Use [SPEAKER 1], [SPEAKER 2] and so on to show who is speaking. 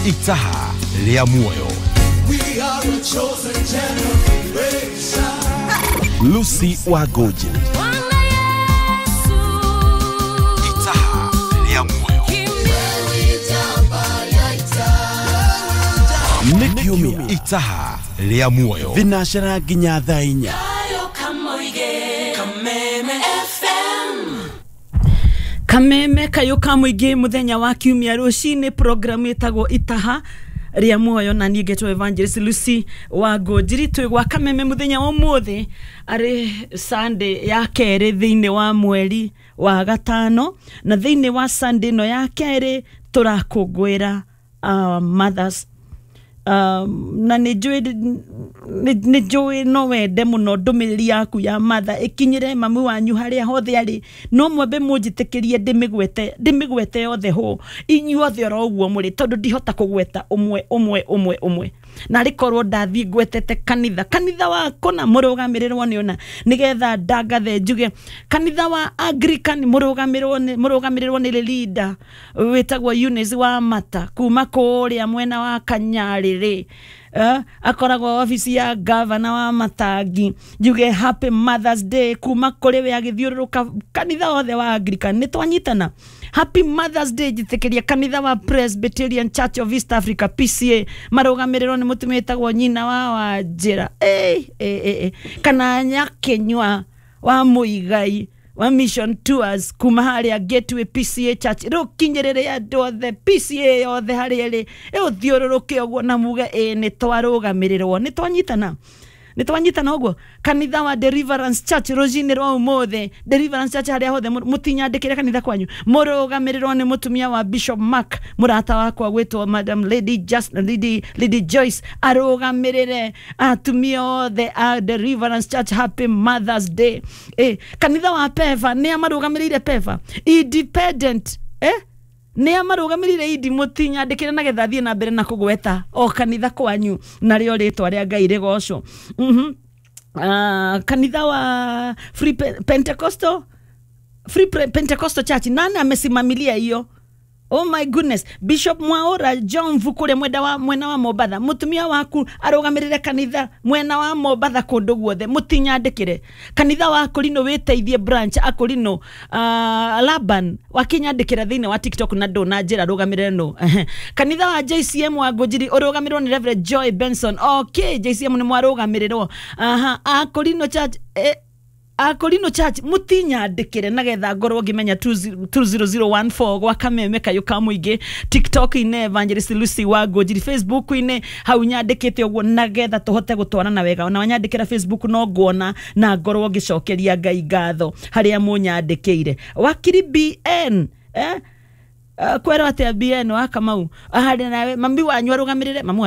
[SPEAKER 1] Itaha rĩa muoyo.
[SPEAKER 2] We are a chosen generation.
[SPEAKER 1] Lucy Wangũnjiri. Itaha rĩa muoyo. Nĩ kiumia. Itaha rĩa muoyo.
[SPEAKER 3] Thinacara nginya thaa 4.
[SPEAKER 4] Kameme kayũ ka mũingĩ mũthenya wa kiumia rũcinĩ, programu ĩtagwo Itaha rĩa muoyo, na niĩ ngetwo Evangelist Lucy wa Ngũnjiri. Twĩ gwa Kameme mũthenya wa ũmũthĩ, arĩ Sunday ya kerĩ thĩinĩ wa mweri wa gatano, na thĩinĩ wa Sunday ĩno ya kerĩ tũrakũngũĩra mothers. Na nĩ njũĩ no wende mũno ndũmĩrĩri yaku ya mother ĩkinyĩre mami wanyu harĩa hothe arĩ, no mwambe mũnjĩtĩkĩrie ndĩmĩgwete yothe hũ inyuothe oro ũguo mũrĩ, tondũ ndihota kũgweta ũmwe ũmwe ũmwe ũmwe, na rĩkorwo ndathiĩ ngwetete kanitha wa kũna mũrũgamĩrĩrwo nĩ ũna, nĩgetha ndangathe njuge kanitha wa Anglican mũrũgamĩrĩrwo nĩ leader wĩtagwo Eunice wa Mata kuma kũrĩa mwena wa Kanyarĩrĩ. Akoragwo obici ya gavana wa Matangi. Njuge happy Mother's Day kuma kũrĩ we agĩthiũrũrũka kanitha wothe wa Anglican, nĩ twanyitana. Happy Mother's Day njĩtĩkĩria kanitha wa Presbyterian Church of East Africa PCA marũgamĩrĩrwo nĩ mũtumia wĩtagwo nyina wa Wanjĩra kana Nyakĩnyua wa Mũigai wa Mission Tours kuma harĩa Gateway PCA Church. Rĩu kinyĩrĩre andũ othe PCA yothe harĩa ĩrĩ, ĩũthiũrũrũke ũguo na muge ĩ nĩ twarũgamĩrĩrwo, nĩ twanyitana, nĩ twanyitana ũguo. Kanitha wa Deliverance Church rũcinĩ rwa ũmũthĩ, Deliverance Church harĩa hothe mũtinyandĩkĩre kanitha kwanyu, mũrũgamĩrĩrwo nĩ mũtumia wa Bishop Mark, mũrata wakwa gwĩtwo Madam Lady Just, Lady Joyce, arũgamĩrĩre atumia othe a Deliverance Church. Happy Mother's Day. Kanitha wa Peva nĩ amarũgamĩrĩire Peva Independent, nĩ amarũgamĩrĩire indi, mũtinyandĩkĩre nagetha thiĩ na mbere na kũgweta o kanitha kwanyu narĩo rĩtwa rĩa Ngai rĩgocwo. Kanitha wa Free Pentecostal, Free Pentecostal Church, nani amesimamilia hiyo? Oh my goodness, Bishop Mwaura John Vukure mwena wa Mombatha, mutumia waku arũgamĩrĩre kanitha mwena wa Mombatha kũndũ guothe, mũtinyandĩkĩre. Kanitha wa Akorino wĩteithie branch Akorino, Laban wakinyandĩkĩra thĩinĩ wa TikTok na ndũ na njĩra rũgamĩrĩre no. Kanitha wa JCM wa Ngũnjiri ũrũgamĩrĩrwo nĩ Reverend Joy Benson. Okay, JCM nĩ mwarũgamĩrĩrwo. Akorino Church, Akorino Church mũtinyandĩkĩre nagetha ngorwo ngĩmenya 20014 gwa Kameme kayũ ka mũingĩ, TikTok-inĩ Evangelist Lucy wa Ngũnjiri, Facebook-inĩ hau nyandĩkĩte ũguo nagetha tũhote gũtwarana wega. Ona wanyandĩkĩra Facebook no nguona na ngorwo ngĩcokeria Ngai ngatho harĩa mũnyandĩkĩire. Wakiri BN, kwerwo atĩa BN wa Kamau, harĩ nawe mami wanyu arũgamĩrĩre mami.